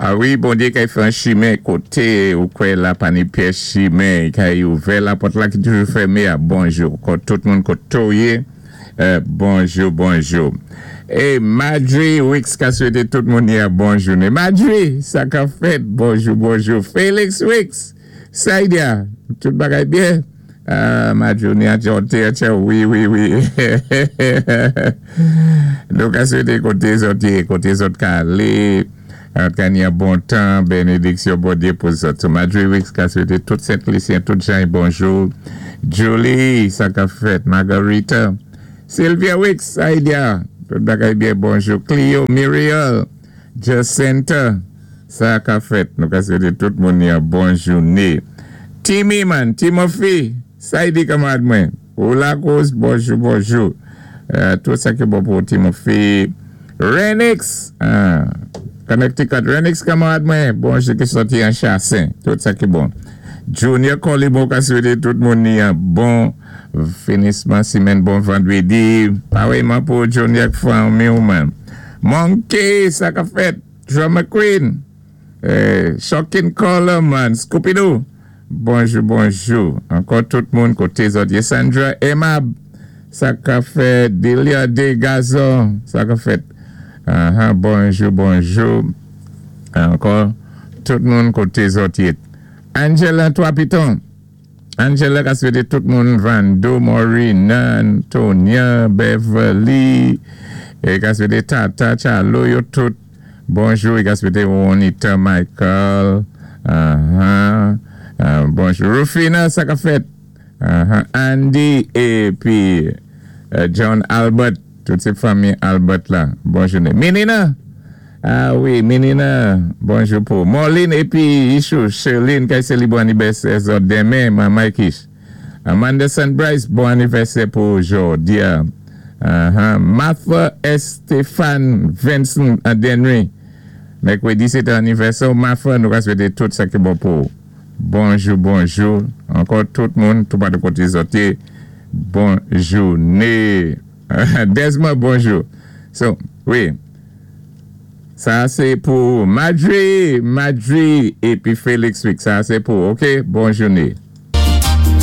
A wi, Bondyé kay fè an chimen koté ou kwè la pa ni pyès chimen, i kay ouvè lapòt la ki toujou fèmé a. Bonjou ankò tout moun koté w yé, bonjou bonjou. E Madjri Wicks ka swété tout moun yé a bon jounen. Madjri, sa kap fèt? Bonjou bonjou. Félix Wicks, Saïdia, tout bagay byen? Ah Madjouni a chante a tchè wi wi wi Nou ka swete kote zòt ye kote zòt ka ale zòt ka ni yon bon tan benediksyon Bondye pou zòt so Madjoui Wicks ka swete tout Sent Lisyen tout jan bonjou Julie sa kap fèt Margarita Sylvia Wicks Saïdia tout bagay byen bonjou Clio Muriel Jacinta Sa ka fèt nou ka swete tout moun yon bon joune Timmy man Timothy Saidi kanmarad mwen ou lakoz bonjou bonjou tout sa ki bon pou ou Timothy Renix Connecticut Renix kanmarad mwen bonjou ki soti an chasen tout sa ki bon Junior Colimo ka swete tout moun yon bon finisman simèn bon vandredi parèyman pou Junior ak fanmi ou man Monkey sa ka fèt. Drama Queen Shocking Color man Scoopidoo Bonjou bonjou ankò tout moun kote zòt ye Sandra Aimable sa ka fèt Delia de Gazon sa ka fèt ahan bonjou bonjou ankò tout moun kote zòt ye Angela 3 piton Angela ka swete tout moun Vando Morina Antonia Beverly e ka swete Tata Chalo yo tout bonjou e ka swete Ronita Michael ahan bonjou Rufina sa kap fèt ahan Andy epi John Albert tout se fanmi Albert la bon jounen Menina Ah wi Menina bonjou pou Morline epi Ichou Sherline kay selibre anibèsè zòt demen manmay kich Amanda Sunbrice bon anivèsè pou jordia ahan Martha Estephane Vincent Denry mèkredi se te anivèsè w Martha nou ka swete tout sa ki bon pou ou bonjou bonjou ankò tout moun toupatou kote zòt ye bon joune Desmond bonjou so wi. Sa se pou Madjri Madjri epi Felix Wix sa se pou ok bon joune.